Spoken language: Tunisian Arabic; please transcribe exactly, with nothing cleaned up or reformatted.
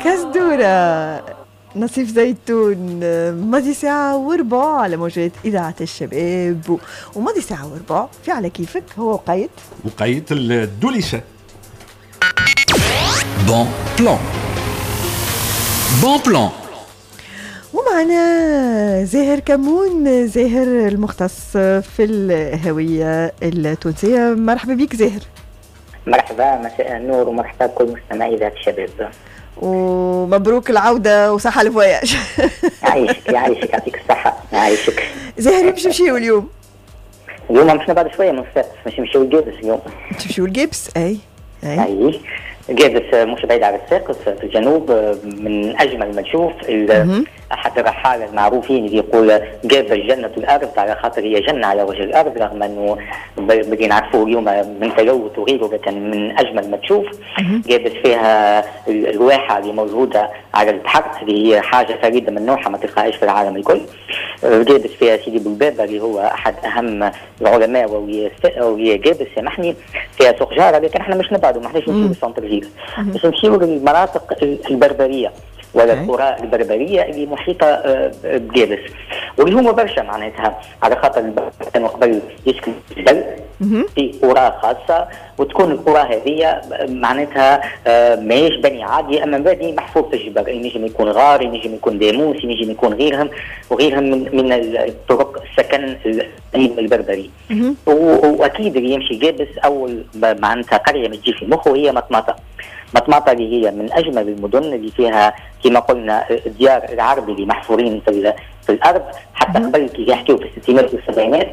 كزدورة نصيف زيتون. ماضي ساعة وربع على موجات إذاعة الشباب، وماضي ساعة وربع في على كيفك هو وقيت وقيت الدوليشة. bon plan، bon plan. ومعنا زاهر كمون، زاهر المختص في الهوية التونسية. مرحبا بك زاهر. مرحبا، مساء النور ومرحبا بكل مستمعي إذاعة الشباب. ومبروك العودة وصحة ال voyage. يعيشك يعيشك، يعطيك الصحة، يعيشك. زاهر، باش نمشيو اليوم؟ اليوم مش بعد شوية من صفاقس، باش نمشيو لقابس اليوم. تمشيو لقابس، أي. أي أي، قابس مش بعيد على صفاقس في الجنوب، من اجمل ما تشوف. احد الرحاله المعروفين اللي يقول قابس جنة الارض، على خاطر هي جنة على وجه الارض، رغم انه بدينا نعرفوه اليوم من تلوث وغيره، لكن من اجمل ما تشوف. قابس فيها الواحه اللي موجودة على البحر، اللي هي حاجة فريدة من نوعها ما تلقاهاش في العالم الكل. قابس فيها سيدي بولبابه اللي هو احد اهم العلماء وهي قابس، سامحني، فيها سوق جاره. لكن احنا مش نبعدوا، ما احناش نمشيو لل centre-ville، باش نمشيو للمناطق البربريه ولا القرى البربريه اللي محيطه آه، بقابس، واللي هما برشا معناتها، على خاطر كانوا قبل يسكنوا الجبل في قرى خاصه، وتكون القرى هذه معناتها آه، ماهيش بني عادي، اما بني محفور في الجبل، ينجم يكون غار، ينجم يكون داموس، ينجم يكون غيرهم وغيرهم من من الطرق السكن البربري. واكيد اللي يمشي قابس، اول معناتها قرية ما تجي في مخه هي مطماطه. مطماطة اللي هي من اجمل المدن، اللي فيها كما قلنا الديار العربي اللي محفورين في في الارض. حتى قبل كي يحكيوا في الستينات والسبعينات.